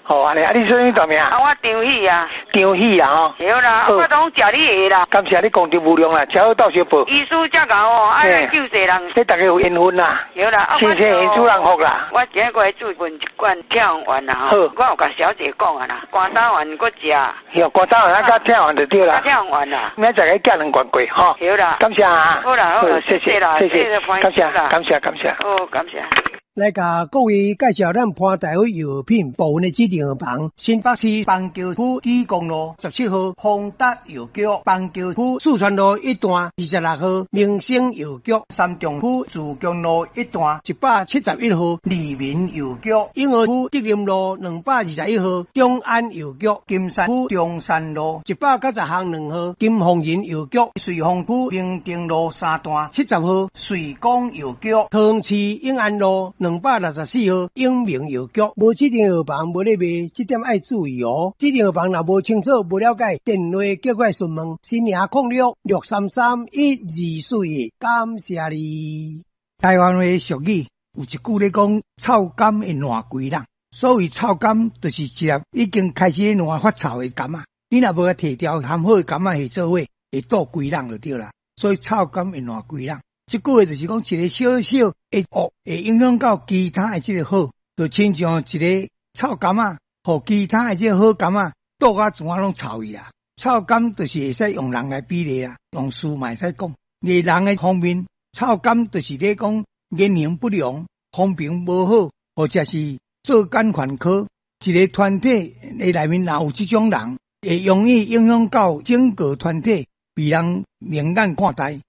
哦，按呢，啊，你啥物大名？啊，我張喜啊。張喜啊，吼。對啦，我攏食你的啦。感謝你功德無量啦，吃好鬥相報。醫師遮𠢕哦，愛來救濟人。這大家有緣分啦。對啦，謝謝主人福啦。我今日過來注問一罐拆丸啦，吼。我有共小姐講啊啦，肝膽丸閣食。哟，肝膽丸啊，佮拆丸就對啦。拆丸啦。明仔載去寄兩罐過，吼。對啦。感謝啊。好啦好啦，謝謝啦，謝謝，感謝感謝感謝。好，感謝。來共各位介紹咱潘大偉藥品部分的指定藥房：新北市板橋區基公路17號宏達藥局，板橋區四川路一段26號明星藥局，三重區自強路一段171號利民藥局，永和區德林路221號中安藥局，金山區中山路190巷2號金鳳仁藥局，瑞豐區明定路三段70號瑞光藥局，桃園市永安路264號永明藥局。無指定藥房無咧賣，這點愛注意哦。指定藥房若無清楚、無了解，電話叫過來詢問。新營06633124，感謝你。台灣話俗語有一句咧講：臭柑會爛規籠。所謂臭柑，就是一粒已經開始爛發臭的柑仔。你若無共提掉，和好的柑仔下做伙，會倒規籠就對啦。所以臭柑會爛規籠。這句話就是講一個小小的惡，會影響到其他的這個好，就親像一個臭柑仔，予其他的這個好柑仔倒甲全攏臭去啦。臭柑就是會使用人來比例啦，用事嘛會使講。佇人的方面，臭柑就是咧講言行不良、風評無好，或者是作奸犯科。一個團體的內面若有這種人，會容易影響到整個團體被人明眼看待。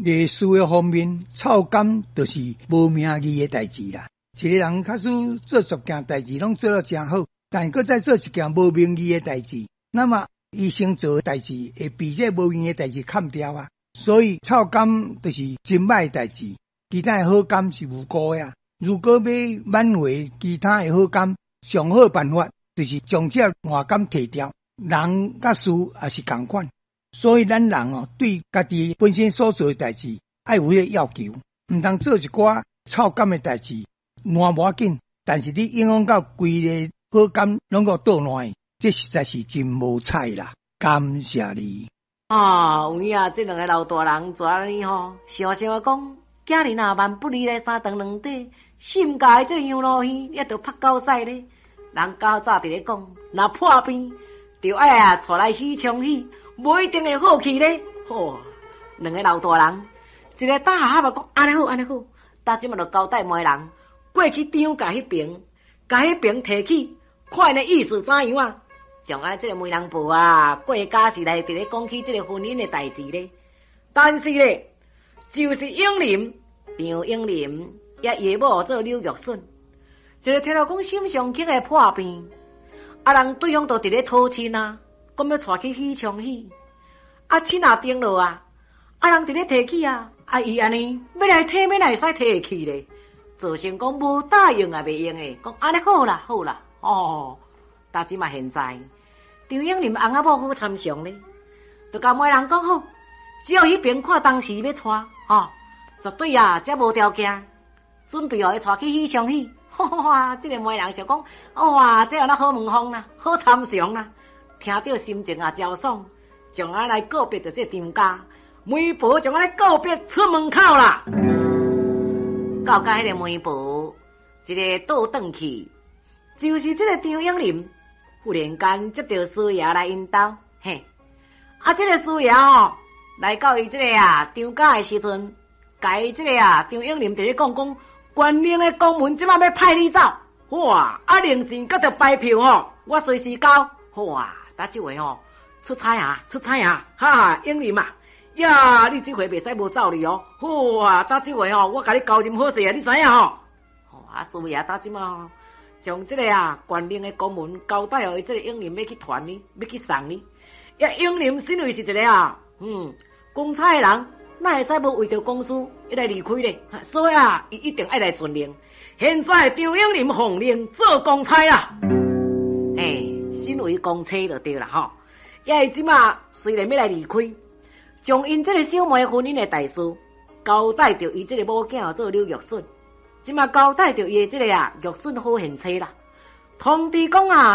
佇事業方面，臭柑就是無名義的代誌啦。一個人假使做十件代誌，攏做了誠好，但閣再做一件無名義的代誌，那麼伊先做的代誌會比這無名義的代誌崁掉啊。所以臭柑就是真歹的代誌，其他的好柑是無辜的啊。如果欲挽回其他的好柑，上好辦法就是將這爛柑提掉。人佮事也是仝款。所以咱人哦，對家己本身所做的代誌，愛有彼個要求，毋通做一寡臭柑的代誌，爛無要緊，但是你影響到規个好柑攏閣倒爛，這實在是真無彩啦。感謝你。啊，有影啊，這兩个老大人做按呢吼，想想講，囝兒若萬不離來三長兩短，心家的這個羊路耳也著拍狗屎咧。人較早佇咧講，若破病，著愛啊𤆬來許昌喜。無一定會好去咧，吼！兩个老大人，一个打哈哈講按呢好，按呢好，今這馬就交代媒人過去張家彼爿，共彼爿提起，看𪜶的意思怎樣啊？將按這个媒人婆啊，過家是來佇咧講起這个婚姻的代誌咧。但是咧，就是永林張永林，也伊某做柳玉笋，一个聽到講沈尚慶的破病，啊人對方都佇咧討親啊，講欲𤆬去許昌喜。啊，親也定落啊！啊，人佇咧提起啊，啊，伊按呢欲來提，欲哪會使提會去咧？造成講無答應也袂用的，講按呢好啦，好啦，哦，但這馬現在張永林翁仔某好參詳咧，就共媒人講好，只要彼爿看當時欲𤆬，吼，絕對啊，這無條件，準備予伊𤆬去許昌喜。哇，這个媒人想講，哇，這有哪好門風啦，好參詳啦，聽著心情也誠爽。將按來告別著這張家，媒婆將按來告別出門口啦。到甲彼个媒婆一个倒轉去，就是這个張永林忽然間接著師爺來𪜶兜，嘿，啊，這个師爺哦，來到伊這个啊張家的時陣，共伊這个啊張永林佇咧講講，縣令的公文這馬欲派你走，哇，啊零錢佮著牌票吼，我隨時交，哇，打這回吼。出差啊，出差啊，哈，永林啊，呀，你這回袂使無走哩哦，好啊，打這回哦，我共你交認好勢啊，你知影吼？啊，師爺打這馬將這个啊，縣令的公文交代予伊這个永林欲去傳呢，欲去送呢。呀，永林身為是一个啊，公差的人，哪會使無為著公事伊來離開咧？所以啊，伊一定愛來遵令。現在張永林奉令做公差啊，欸，身為公差就對啦吼。也伊這馬雖然欲來離開，將𪜶這个小妹婚姻的大事交代著伊這个某囝做柳玉筍，這馬交代著伊的這个啊玉筍好賢妻啦。通知講啊，